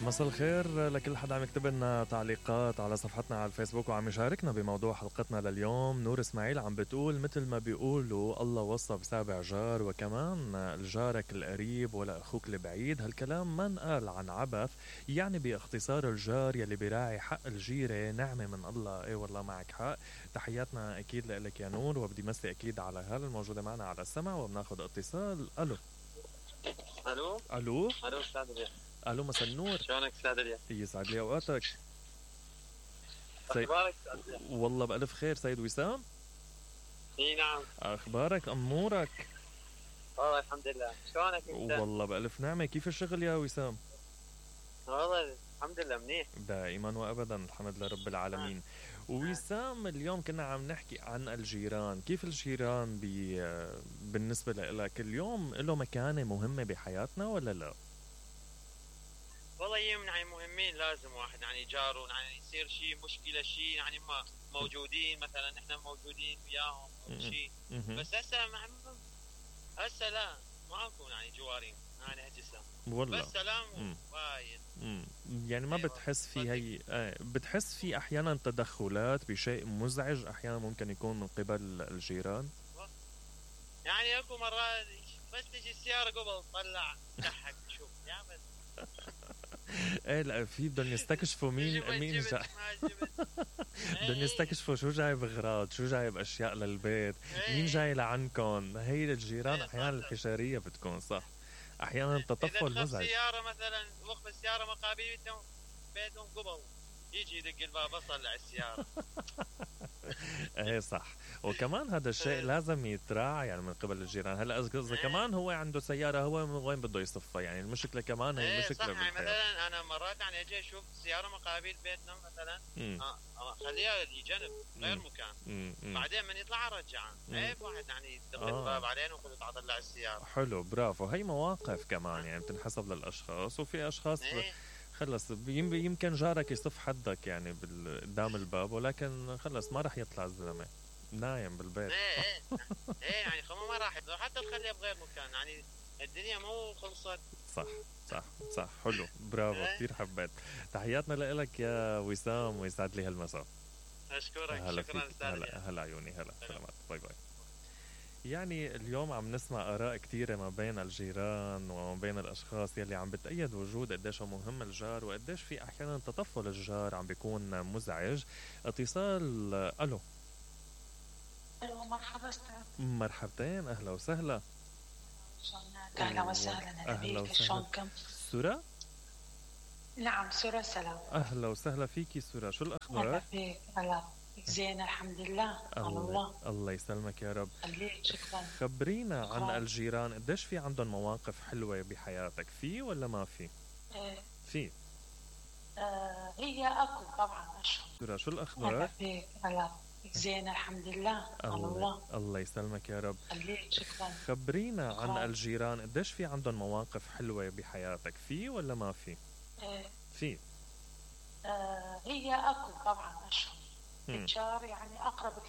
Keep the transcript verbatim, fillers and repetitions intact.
مساء الخير لكل حدا عم يكتب لنا تعليقات على صفحتنا على الفيسبوك وعم يشاركنا بموضوع حلقتنا لليوم. نور اسماعيل عم بتقول مثل ما بيقولوا الله وصى بسابع جار، وكمان الجارك القريب ولا أخوك البعيد. هالكلام ما انقال عن عبث، يعني باختصار الجار يلي بيراعي حق الجيرة نعمة من الله. ايه والله معك حق. تحياتنا أكيد لك يا نور، وبدي مسي أكيد على هال الموجودة معنا على السمع. وبناخد اتصال. ألو الو ألو الو استاذ الياس. ألو مساء النور. شلونك استاذ الياس؟ يسعد لي أوقاتك. اخبارك استاذ الياس؟ والله بألف خير. سيد وسام. اي نعم. أخبارك أمورك؟ والله الحمد لله. شلونك انت؟ والله بألف نعمة. كيف الشغل يا وسام؟ والله الحمد لله منيح دائما وأبدا الحمد لله رب العالمين. وسام اليوم كنا عم نحكي عن الجيران. كيف الجيران بي بالنسبة لك اليوم له مكانة مهمة بحياتنا ولا لا؟ والله يوم يعني مهمين، لازم واحد يعني جاره يعني يصير شيء مشكلة شيء يعني ما موجودين، مثلا احنا موجودين وياهم او شيء. بس هسه مع هسه لا ماكو يعني جوارين يعني هجسه والله بس سلام وايد. يعني ما أيوة. بتحس في هي آه بتحس في احيانا تدخلات بشيء مزعج احيانا ممكن يكون من قبل الجيران؟ يعني اكو مرات بس تجي السياره قبل تطلع ضحك شوف يا بس ايه لا في بدهم يستكشفوا مين مين جاي. بدهم يستكشفوا شو جاي بغراض، شو جاي باشياء للبيت، مين جاي لعنكم. هي الجيران احيانا الحشريه بتكون صح، احيانا تطفل مزعج. السياره مثلا وقف السياره مقابل بيتهم بيتهم قبل يجي يدق الباب اطلع السياره. ايه صح. وكمان هذا الشيء لازم يتراعى يعني من قبل الجيران. هلا اذا كمان هو عنده سياره هو من وين بده يصفها، يعني المشكله كمان هي مشكله صح. بالحياه. مثلا انا مرات يعني اجي اشوف سياره مقابل بيتنا مثلا اخليها لجنب غير مكان، مم. بعدين من يطلع ارجعها. عيب واحد يعني يدق آه. الباب علينا ويقول اطلع السياره. حلو برافو. هي مواقف كمان يعني بتنحسب للاشخاص، وفي اشخاص ايه. خلص يمكن جارك يصف حدك يعني قدام الباب، ولكن خلص ما راح يطلع الزلمه نايم بالبيت. ايه ايه ايه يعني خمو ما راح حتى تخليها بغير مكان، يعني الدنيا مو خلصت. صح صح صح. حلو برافو كثير حبيت. تحياتنا لك يا وسام ويسعد لي هالمساء. اشكرك. هلا شكرا استاذ. هلا هلا عيوني. هلا سلامات. باي باي. يعني اليوم عم نسمع آراء كتيرة ما بين الجيران وما بين الأشخاص يلي عم بتأيد وجود قديش مهم الجار، وقديش في أحيانا تطفل الجار عم بيكون مزعج. اتصال. ألو ألو مرحبا استاذ. مرحبتين أهلا وسهلا. أهلا وسهلا. أهلا وسهلا. شلونكم؟ سورة؟ نعم سورة سلام. أهلا وسهلا فيكي سورة، شو الأخبار؟ أهلا فيك. هلا زين الحمد لله. الله الله يسلمك يا رب. خليك. شكرا. خبرينا عن خلص. الجيران قديش في عندهم مواقف حلوة بحياتك؟ في ولا ما في؟ إيه. في آه هي أكو طبعا أشهر. سورة شو الأخبار؟ أهلا فيك. هلا زين الحمد لله. الله الله يسلمك يا رب. خليك. شكرا. خبرينا عن خلص. الجيران قديش في عندهم مواقف حلوة بحياتك؟ في ولا ما في؟ إيه. في آه هي أكو طبعا أشهر. الجار يعني أقرب